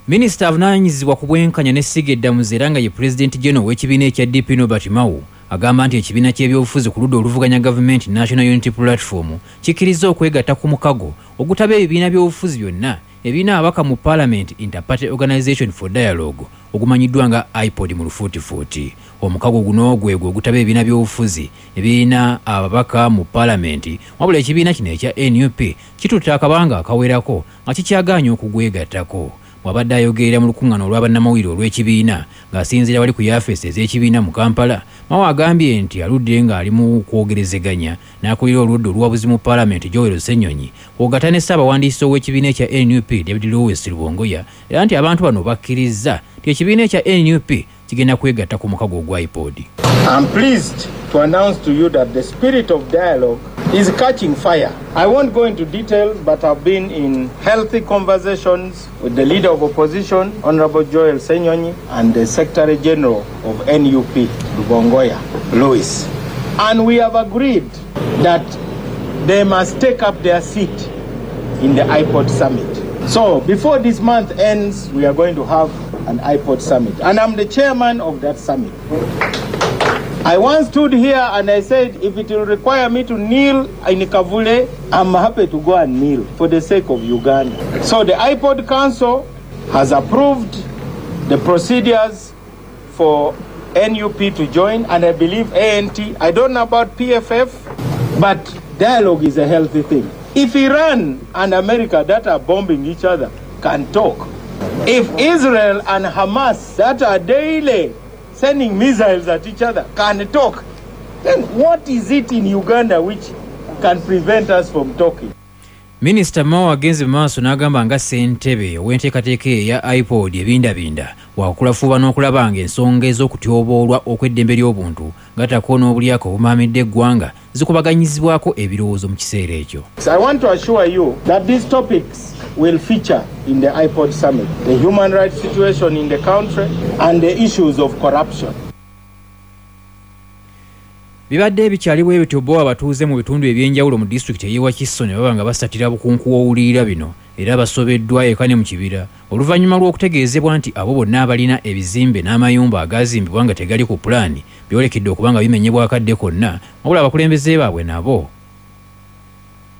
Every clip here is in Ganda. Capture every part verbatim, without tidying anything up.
Minisita avunaanyizibwa ku bwenkanya n'essiga eddamuzi era nga ye Pulezidenti General w'ekibiina ekya D P Norbert Mao agamba nti ekibiina ky'ebyobufuzi ku ludda oluvuganya gavumenti National Unity Platform kikkirizza okwegatta ku mukago ogutaba ebibiina by'obufuzi byonna ebirina ababaka mu Parliament Interparty Organization for Dialogue ogumanyiddwa nga IPOD mu lufuutifuuti. Omukago guno gwegwo ogutaba ebibiina by'obufuzi ebirina ababaka mu Parliament, wabula ekibiina kino ekya N U P kitutte akabanga akawerako nga kikyagaanye okugwegattako. Bw'abadde ayogerera mu lukuŋŋaana olwa bannamawulire olw'ekibiina ng'asinziira wali ku yafeesi ez'ekibiina mu Kampala, Mao agambye nti aludde ng'ali mu kwogerezeganya n'akulira oludda oluwabuzi mu Paalamenti Joel Ssenyonyi kw'ogatta ne ssaabawandiisi ow'ekibiina ekya N U P David Lewis Rubongoya, era nti abantu bano bakkirizza nti ekibiina ekya N U P kigenda kwegatta ku mukago ogwa IPOD. I'm pleased to announce to you that the spirit of dialogue is catching fire. I won't go into details, but I've been in healthy conversations with the leader of opposition, Honorable Joel Ssenyonyi, and the Secretary General of N U P, Rubongoya Lewis. And we have agreed that they must take up their seat in the I POD summit. So before this month ends, we are going to have an I POD summit. And I'm the chairman of that summit. I once stood here and I said, if it will require me to kneel in Kavule, I'm happy to go and kneel for the sake of Uganda. So the I POD Council has approved the procedures for N U P to join, and I believe A N T. I don't know about P F F, but dialogue is a healthy thing. If Iran and America that are bombing each other can talk, if Israel and Hamas that are daily sending missiles at each other can talk, then what is it in Uganda which can prevent us from talking? Minisita Mao agenze mu maaso n'agamba nga ssentebe ow'enteekateeka eya I POD ebindabinda wakulafuuba n'okulaba ng'ensonga ez'okutyoboolwa okw'eddembe ly'obuntu gattako n'obulyako obumaamidde eggwanga zikubaganyizibwako ebirowoozo mu kiseera ekyo. I want to assure you that these topics will feature in the I POD summit, the human rights situation in the country and the issues of corruption. Bibadde ebikyali bwe bityo bo abatuuze mu bitundu ebyenjawulo mu disitulikiti ey'e Wakiso ne baba nga basatira bukunku w'owulirira bino era basobeddwa eka ne mu kibira oluvannyuma lw'okutegeezebwa nti abo bonna abalina ebizimbe n'amayumba agaazimbibwa nga tegali ku pulaani byolekedde okuba nga bimenyebwa akadde konna, wabula abakulembeze baabwe nabo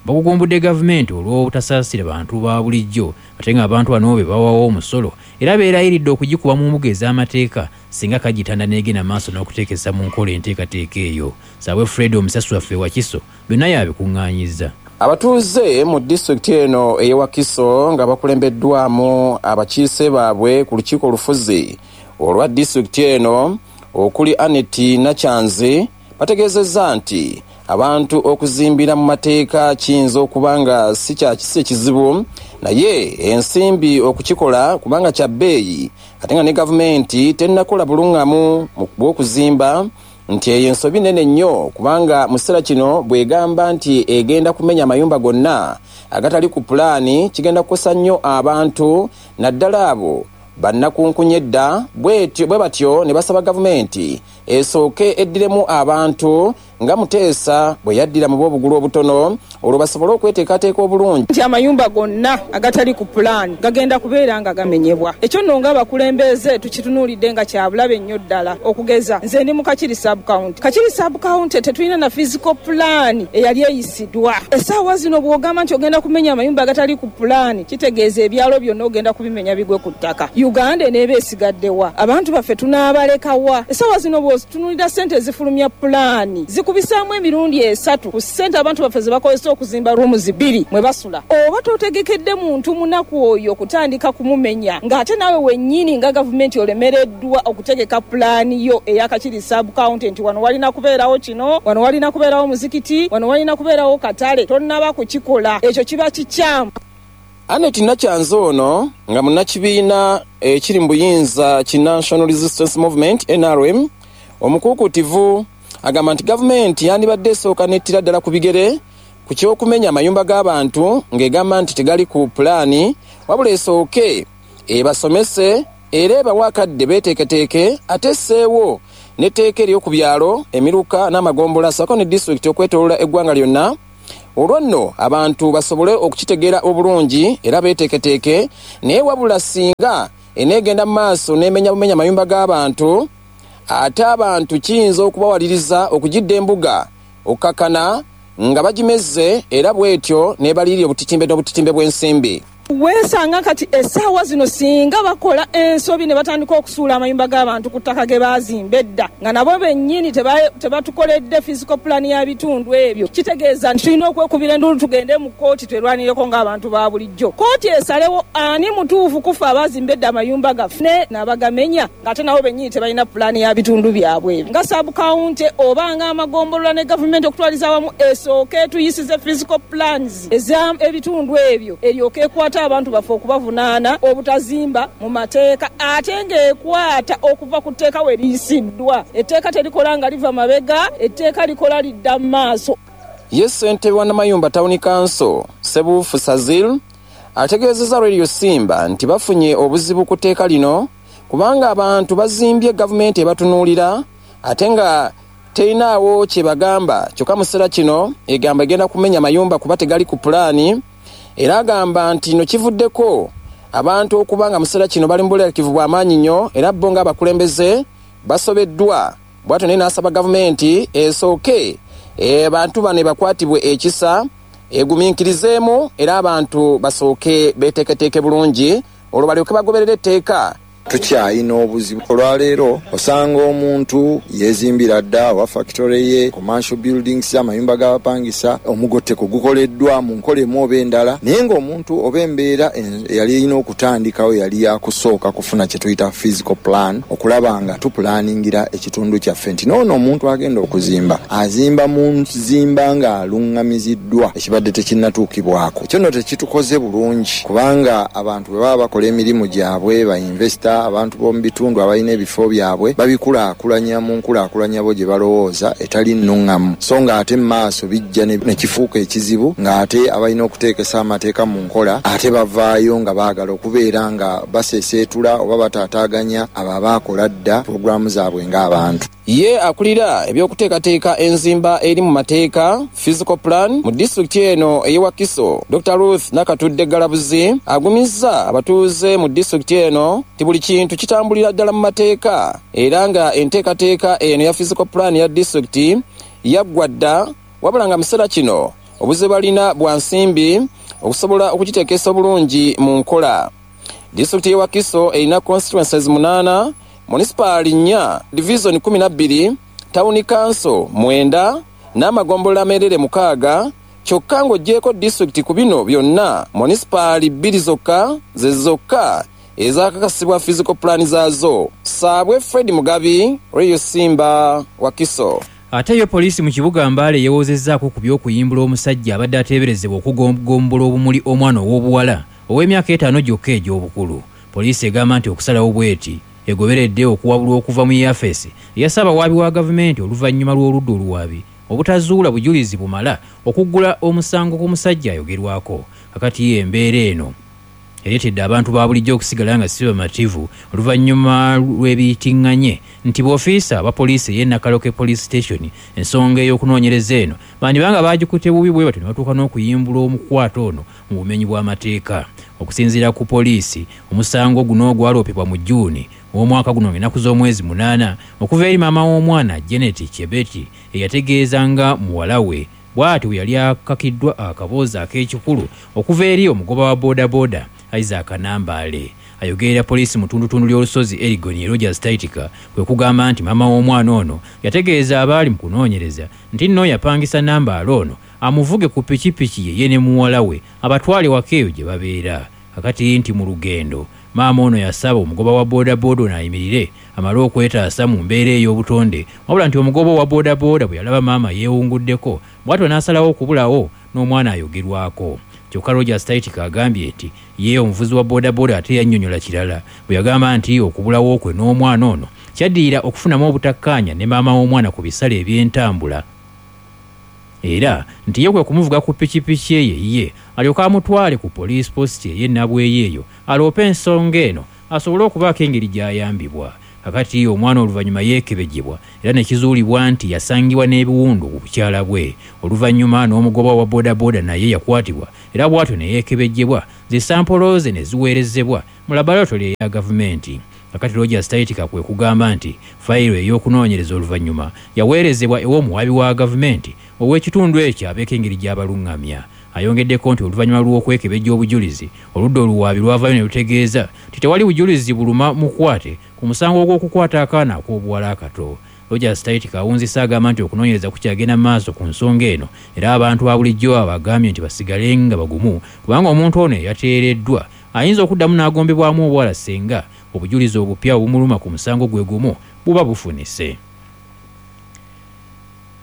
bagugumbudde gavumenti olw'obutasaasira bantu ba bulijjo ate ng'abantu bano be bawawo omusolo era beerayiridde okugikuba mu mbuga ez'amateeka singa kagitanda n'egenda maaso n'okuteekesa mu nkola enteekateeka eyo. Saabwe Fred omusasi waffe Wakiso byonna yabikuŋŋaanyizza. Abatuuze mu disitulikiti eno ey'e Wakiso nga bakulembeddwamu abakiise baabwe ku lukiiko olufuzi olwa disitulikiti eno okuli Aneti Nakyanzi bategeezezza nti abantu okuzimbira mu mateeka kiyinza okuba nga si kya kisi ekizibu, naye ensimbi okukikola kubanga kya bbeeyi ate nga ne gavumenti tennakola bulungamu bw'okuzimba, nti eyo ensobi nnene nnyo kubanga mu kiseera kino bw'egamba nti egenda kumenya amayumba gonna agatali ku pulaani kigenda kukosa nnyo abantu naddala abo bannakunkunye edda bwe batyo ne basaba gavumenti esooke eddiremu abantu nga Muteesa bwe yaddira mu b'obugulu obutono olwo basobole okweteekateeka obulungi. Nti amayumba gonna agatali ku pulaani gagenda kubeera nga gamenyebwa. Ekyo nno ng'abakulembeze tukitunuulidde nga kya bulabe nnyo ddala. Okugeza nze ndi mu Kakiri sub-county. Kakiri sub-county tetulina na physical plan eyali eyisiddwa. Essaawa zino bw'ogamba nti ogenda kumenya amayumba agatali ku pulaani kitegeeza ebyalo byonna ogenda kubimenya bigwe ku ttaka. Uganda eneeba esigaddewa? Abantu baffe tunaabalekawa? Essaawa zino bw'otunuulira ssente ezifulumya pulaani zikubisaamu emirundi esatu ku ssente abantu baffe ze bakozesa okuzimba rooms bbiri mwe basula. Oba totegekedde muntu munaku oyo kutandika kumumenya ng'ate naawe wennyini nga gavumenti olemereddwa okutegeka pulaani yo eya Kakiri sub-county nti wano walina kubeerawo kino, wano walina kubeerawo muzikiti, wano walina kubeerawo katale, tonnaba kukikola. Ekyo kiba kikyamu. Aneti Nakyanzi ono nga munnakibiina ekiri mu buyinza ki National Resistance Movement N R M omukuukutivu agamba nti gavumenti yandibadde esooka n'ettira ddala ku bigere ku ky'okumenya amayumba g'abantu ng'egamba nti tegali ku pulaani, wabula esooke ebasomese era ebawe akadde beeteeketeeke ate esseewo n'etteeka ery'oku byalo, emiruka n'amagombola ssaako ne disitulikiti okwetooloola eggwanga lyonna Olwo nno abantu basobole okukitegeera obulungi era beeteeketeeke. Naye wabula singa eneegenda mu maaso n'emenya bumenya amayumba g'abantu, ate abantu kiyinza okubawaliriza okugidda embuga okukakana nga bagimeze, era bw'etyo n'ebalirira obutitimbe n'obutitimbe bw'ensimbi. Weesanga kati essaawa zino singa bakola ensobi ne batandika okusuula amayumba g'abantu ku ttaka ge baazimba edda, nga nabo bennyini tebatukoledde physical plan ya bitundu ebyo, kitegeeza nti tulina okwekubira enduulu tugende mu kkooti twerwanireko ng'abantu ba bulijjo. Kkooti esalewo ani mutuufu kufa abaazimba edda amayumba gaffe ne n'abagamenya, ng'ate nabo bennyini tebalina pulaani ya bitundu byabwe ebyo. Nga sub-county oba ng'amagombolola ne gavumenti okutwaliza awamu esooke etuyisize physical plans ez'ebitundu ebyo, eryoke ekwata abantu baffe okubavunaana obutazimba mu mateeka, ate ng'ekwata okuva ku tteeka we liyisiddwa. Etteeka terikola nga liva mabega, etteeka likola lidda mu maaso. Ye ssentebe wa Namayumba Town Council Sebuufu Sazil ategeezezza Radio Simba nti bafunye obuzibu ku tteeka lino kubanga abantu bazimbye gavumenti ebatunuulira ate nga terinaawo kye bagamba. Kyokka mu kiseera kino egamba egenda kumenya mayumba kuba tegali ku pulaani, era agamba nti no kivuddeko abantu okuba nga mu kiseera kino bali mu buleekivu bw'amaanyi nnyo, era bo ng'abakulembeze basobeddwa. Bw'atyo naye n'asaba gavumenti esooke abantu bano bakwatibwe ekisa, egumiikirizeemu, era abantu basooke beeteeketeeke bulungi olwo balyoke bagoberere etteeka. Tukyayina obuzibu olwaleero, osanga omuntu yeezimbira dda oba factory ye, commercial buildings, amayumba g'abapangisa, omugotteko gukoleddwa mu nkola emu oba endala, naye ng'omuntu oba embeera eyali erina okutandikawo yali yakusooka kufuna kye tuyita physical plan, okulaba nga tupulaningira ekitundu kyaffe nti noono omuntu agenda okuzimba azimba mu nzimba ng'aluŋŋamiziddwa, ekibadde tekinnatuukibwako. Ekyo nno tekitukoze bulungi kubanga abantu bwe baba bakola emirimu gyabwe, ba investor, abantu b'omu bitundu abalina ebifo byabwe babikulaakulanya mu nkulaakulanya bo gye balowooza etali nnuŋŋamu, so ng'ate mu maaso bijja ne kifuuka ekizibu ng'ate abalina okuteekesa amateeka mu nkola ate bavaayo nga baagala okubeera nga baseeseetula oba bataataaganya abo abaakola dda pulogulaamu zaabwe ng'abantu. Ye akulira ebyokuteekateeka enzimba eri mu mateeka physical plan mu disitulikiti eno ey'e Wakiso, Doctor Ruth Nakatudde Galabuzi agumizza abatuuze mu disitulikiti eno nti buli kintu kitambulira ddala mu mateeka, era nga enteekateeka eno ya physical plan ya disitulikiti yaggwa dda, wabula nga mu kiseera kino obuzibu balina bwa nsimbi okusobola okugiteekesa obulungi mu nkola. Disitulikiti y'e Wakiso erina constituencies munaana, munisipaali nnya, divizoni kumi na bbiri, tawuni kanso mwenda n'amagombolola ameerere mukaaga. Kyokka ng'oggyeko disitulikiti ku bino byonna, munisipaali bbiri zokka ze zokka ezakakasibwa physical plan zaazo. Saabwe Fred Mugabi, Radio Simba, Wakiso. Ate yo poliisi mu kibuga Mbale yeewozezzaako ku by'okuyimbula omusajja abadde ateeberezebwa okugombola obumuli omwana ow'obuwala ow'emyaka etaano gyokka egy'obukulu. Poliisi egamba nti okusalawo bw'eti egoberedde okuwabulwa okuva mu yafeesi eya ssaabawaabi wa gavumenti oluvannyuma lw'oludda oluwaabi obutazuula bujulizi bumala okuggula omusango ku musajja ayogerwako. Kakati ye embeera eno ereetedde abantu ba bulijjo okusigala nga si bamativu oluvannyuma lw'ebiyitiŋŋanye nti bw'ofiisa aba poliisi ey'e Nakaloke Police Station ensonga ey'okunoonyereza eno bandibanga baagikutte bubi bwe batyo ne batuuka n'okuyimbula omukwate ono mu bumenyi bw'amateeka. Okusinziira ku poliisi, omusango guno gwaloopebwa mu Jjuuni ow'omwaka guno ng'ennaku z'omwezi munaana okuva eri maama w'omwana Janet Chebeti eyategeeza nga muwala we bw'atyo bwe yali akakiddwa akaboozi ak'ekikulu okuva eri omugoba wa boodabooda Isaac Nambaale. Ayogerera poliisi mu ttundutundu ly'olusozi Elgon Rogers Taitika kwe kugamba nti maama w'omwana ono yategeeza abaali mu kunoonyereza nti nno yapangisa Nambaale ono amuvuge ku pikipiki ye ye ne muwala we abatwale waka eyo gye babeera. Kakati nti mu lugendo maama ono yasaba omugoba wa boodabooda ono ayimirire amale okwetaasa mu mbeera ey'obutonde, wabula nti omugoba wa boodabooda bwe yalaba maama yeewunguddeko bw'atyo n'asalawo okubulawo n'omwana ayogerwako. Kyokka Rogers Taitika agambye nti ye omuvuzi wa boodabooda ate yannyonnyola kirala bwe yagamba nti okubulawo kwe n'omwana ono kyaddirira okufunamu obutakkaanya ne maama w'omwana ku bisale eby'entambula, era nti ye kwe kumuvuga ku pikipiki eye ye alyoke amutwale ku police post ey'e Nabweyo eyo aloope ensonga eno asobole okubaako engeri gy'ayambibwa. Kakati omwana oluvannyuma yeekebejjebwa era ne kizuulibwa nti yasangibwa n'ebiwundu ku bukyala bwe. Oluvannyuma n'omugoba wa bodaboda naye yakwatibwa era bw'atyo ne yeekebejjebwa, zisampolo ze ne ziweerezebwa mu laboratory eya gavumenti. Kakati Rogers Taitika kwe kugamba nti fayiro ey'okunoonyereza oluvannyuma yaweerezebwa ew'omuwaabi wa gavumenti ow'ekitundu ekyo abeeko engeri gy'abalungamya. Ayongeddeko nti oluvannyuma lw'okwekebejja obujulizi, oludda oluwaabi lwavaayo ne lutegeeza nti tewali bujulizi buluma mukwate ku musango ogw'okukwata akaana ak'obuwala akato. Rogers Taitika awunzisa agamba nti okunoonyereza kukyagenda mu maaso ku nsonga eno era abantu ba bulijjo abagambye nti basigale nga bagumu kubanga omuntu ono eyateereddwa ayinza okuddamu n'agombebwamu obwala singa obujulizi obupya obumuluma ku musango gwe gumu buba bufunise.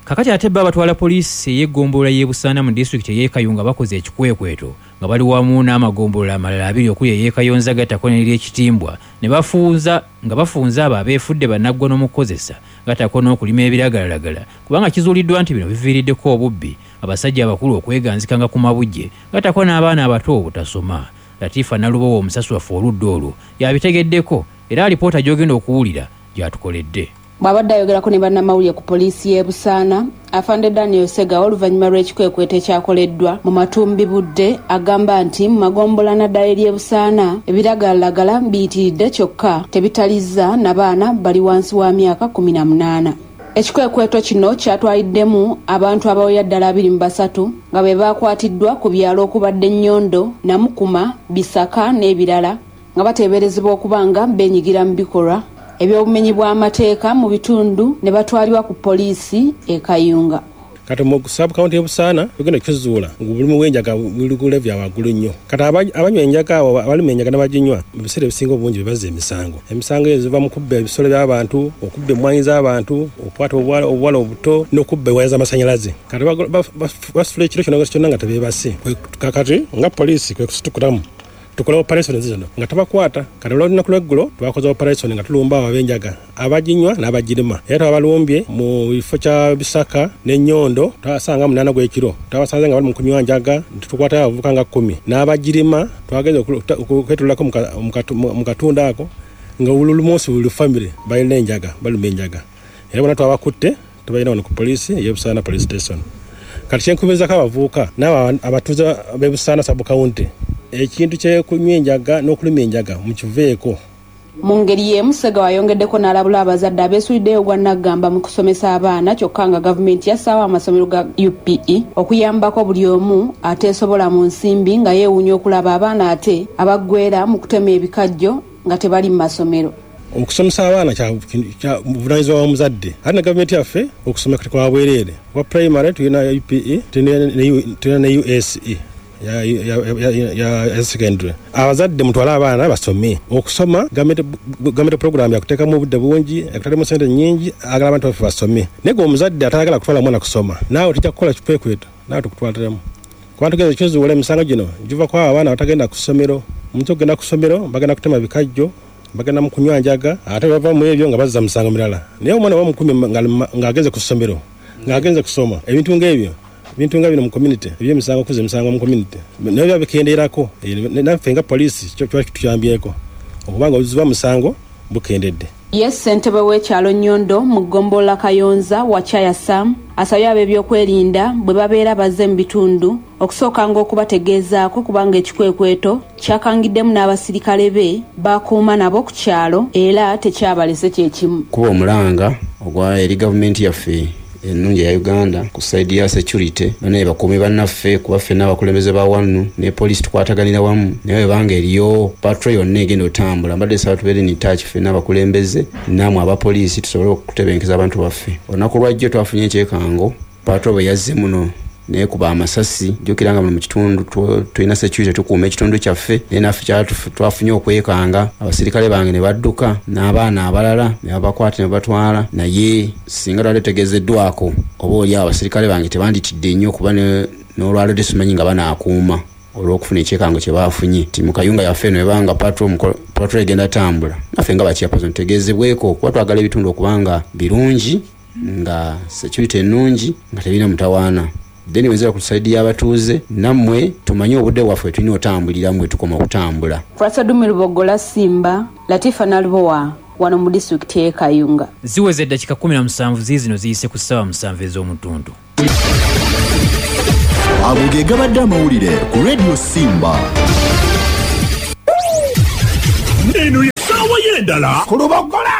Kakati ate bba abatwala poliisi ey'eggombolola y'e Busaana mu disitulikiti ey'e Kayunga bakoze ekikwekweto nga bali wamu n'amagombolola amalala abiri okuli ey'e Kayonza gattako n'ery'Ekitimbwa ne bafunza nga bafunza abo abeefudde bannaggwa n'omukozesa gattako n'okulima ebiragalalagala kubanga kizuuliddwa nti bino biviiriddeko obubbi, abasajja abakulu okweganzikanga ku mabujje gattako n'abaana abato obutasoma. Latifa Nalubowa omusasi waffe oludda olwo yabitegeddeko era alipoota gy'ogenda okuwulira gy'atukoledde. Bw'abadde ayogerako ne bannamawulire ku poliisi y'e Busaana, Afande Daniel Segawa oluvannyuma lw'ekikwekweto ekyakoleddwa mu matumbi budde agamba nti mu magombola naddala ery'e Busaana ebiragalalagala biyitiridde kyokka tebitalizza n'abaana bali wansi wa myaka kkumi na munaana. Ekikwekweto kino kyatwaliddemu abantu abawera ddala abiri mu basatu nga be baakwatiddwa ku byalo okubadde Nnyondo, Namukuma, Bisaka n'ebirala nga bateeberezebwa okuba nga beenyigira mu bikolwa eby'obumenyi bw'amateeka mu bitundu ne batwalibwa ku poliisi e Kayunga. Kati mu sub county y'e Busaana tugenda kukizuula ng'obulimu bw'enjaga buli ku level ya waggulu nnyo. Kati abanywa enjaga abo abalima enjaga n'abaginywa mu biseera ebisinga obungi be bazza emisango. Emisango ezo ziva mu kubba ebisolo by'abantu, okubba emmwanyi z'abantu, okukwata obuwala obuwala obuto n'okubba ewaya z'amasannyalaze. Kati basula ekiro kyonna kyonna nga tebeebase. Kakati nga poliisi kwe kusitukulamu tukola operation zino nga tubakwata. Kati olunaku lw'eggulo twakoze operation nga tulumba abo ab'enjaga abaginywa n'abagirima era twabalumbye mu bifo kya Bisaka n'Ennyondo twasanga munaana gw'ekiro twabasanze nga bali mu kunywa njaga tukwata abavubuka nga kkumi n'abagirima twagenze okwetulako mu katundu ako nga buli munsi buli famire balina enjaga baluma enjaga era bonna twabakutte tubalina wano ku poliisi ey'e Busaana police station. Kati kyenkubirizaako abavubuka n'abo abatuuze b'e Busaana sub county ekintu ky'okunywa enjaga n'okulima enjaga mukiveeko. Mu ngeri y'emu Segawa ayongeddeko n'alabula abazadde abeesuliddeyo ogwa nnaggamba mu kusomesa abaana kyokka nga gavumenti yassaawo amasomero ga U P E okuyambako buli omu ateesobola mu nsimbi nga yeewuunya okulaba abaana ate abaggwera mu kutema ebikajjo nga tebali mu masomero. Okusomesa abaana kya buvunaanyizibwa bwa muzadde ate ne gavumenti yaffe okusoma kati kwa bwereere. Kwa primary tulina U P E tulina ne U S E ya ya ya ya secondary. Abazadde mutwale abaana basome. Okusoma gavumenti program yakuteekamu obudde bungi, yakutademu ssente nnyingi, agala abantu baffe basome. Naye gwe omuzadde atayagala kutwala mwana kusoma, naawe tujja kukola kikwekweto, naawe tukutwaliremu. Kuba tugenda ekizuula emisango gino giva ku abo abaana abatagenda ku ssomero. Omuntu okugenda ku ssomero bagenda kutema bikajjo, bagenda mu kunywa njaga, ate bava mu ebyo nga bazza misango mirala. Naye omwana bamukumi ng'agenze ku ssomero, ng'agenze kusoma, ebintu ng'ebyo ebintu nga bino mu community, eby'emisango okuza emisango mu community naye biba bikendeerako. Naffe nga poliisi kiba kituyambyeko okubanga obuzibu bw'omusango bukendedde. Ye ssentebe w'ekyalo Nnyondo mu ggombolola Kayonza Wachaya Sam asabye ab'ebyokwerinda bwe babeera bazze mu bitundu okusookanga okubategeezaako kubanga ekikwekweto kyakangiddemu n'abasirikale be bakuuma nabo ku kyalo era tekyabalese kye kimu. Kuba omulanga ogwa eri gavumenti yaffe ennungi eya Uganda ku side ya security banaye bakuumi bannaffe kuba ffenna abakulembeze ba wano ne poliisi tukwataganira wamu naye bwebanga eriyo patrol yonna egenda otambula mbadde nsaba tubeere in touch ffenna abakulembeze nammwe abapoliisi tusobole okutebenkeza abantu baffe. Olunaku lwajjo twafunye ekyekango patrol bwe yazze muno nekuba amasasi. Jjukira nga muno mu kitundu tulina security tukuuma ekitundu kyaffe naye naffe twafunye okwekanga abasirikale bange ne badduka n'abaana abalala ne babakwata ne babatwala naye singa twali tutegeezeddwako oba oli awo abasirikale bange tebanditidde nnyo kuba n'olwaliro tesimanyi nga banaakuuma olw'okufuna ekyekango kye baafunye. Ti mu Kayunga yaffe eno ebanga patrol egenda tambula naffe nga bachairperson tutegeezebweko kuba twagala ebitundu okubanga birungi nga security ennungi nga tebirina mutawaana. Then wenzera ku side y'abatuuze nammwe tumanye obudde bwaffe tulina otambulira mmwe tukoma okutambula. Francis Dumirubogola Simba, Latifa Nalubowa, wano mu disitulikiti y'e Kayunga. Ziweze eddakiika kkumi na musanvu ziizino ziyise ku ssaawa musanvu ez'omutundu. Ago ge gabadde amawulire ku Radio Simba. Eno ye ssaawa y'endala ku Lubogola.